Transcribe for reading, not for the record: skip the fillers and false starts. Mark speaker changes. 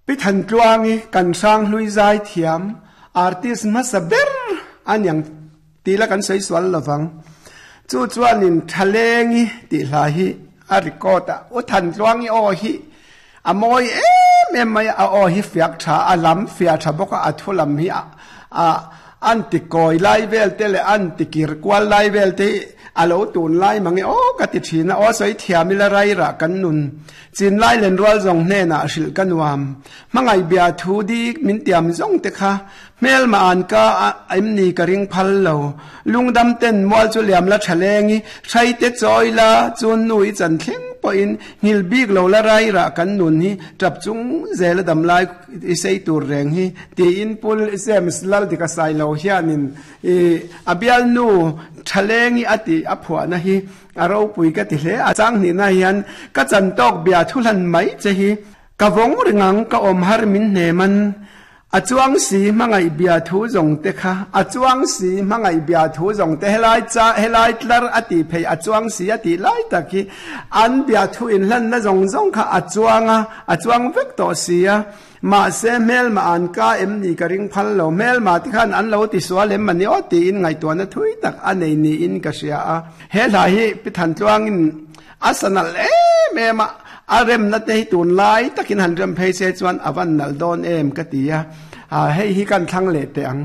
Speaker 1: Pi Thantluangi kan hranghlui zai thiam artist hmasa ber a niang tih la kan sawi sual lovang. Chu chuanin Thalengi tih hla hi a record a, U Thantluangi aw hi a mawi em em mai a, a aw hi fiak tha, a lam fiah tha bawk a, a thu lam hi a an ti kawi lai vel te leh an ti kir kual lai vel te hi a lo tun lai mange aw ka ti thin a, aw sawi thiam ila rairah kan nun Chinlai lenrual zawng hnenah hrilh ka nuam. Hmangaih bia thu dik min tiam zawng te kha hmelma an ka em ni ka ring phal lo. Lungdam ten mual chu liam la tha leng i, hrai te chawi la chun nu i chan thleng pawhin nghil bik lo la rai rah kan nun hi tap chung zel a dam lai i sei tur reng hi tiin Pu James Laldika Sailo hianin i a bialnu tha leng i a tih a phuahna hi A ropui ka ti hle a, chang hnihna hian ka chan tawk bia thu hlan mai che hi ka vawng ring ang, ka awm har min hnem an. A chuang si hmangaih bia thu zawng te kha, a chuang si hmangaih bia thu zawng te helai cha helai tlar a tih phei a chuang si a tih lai tak hi an bia thu inhlanna zawng zawng kha a chuang a, a chuang vek tawh si a. Mahse, hmelma an ka em ni ka ring phal lo. Hmelma te khan an lo ti sual em mani aw tiin ngaihtuahna thui tak a nei niin ka hria a. He hla hi Pi Thantluangin a sa nalh em em a, a remna te hi tunlai takin han rem phei se chuan a van nalh dawn em ka ti a. Hei hi kan thlang leh teh ang.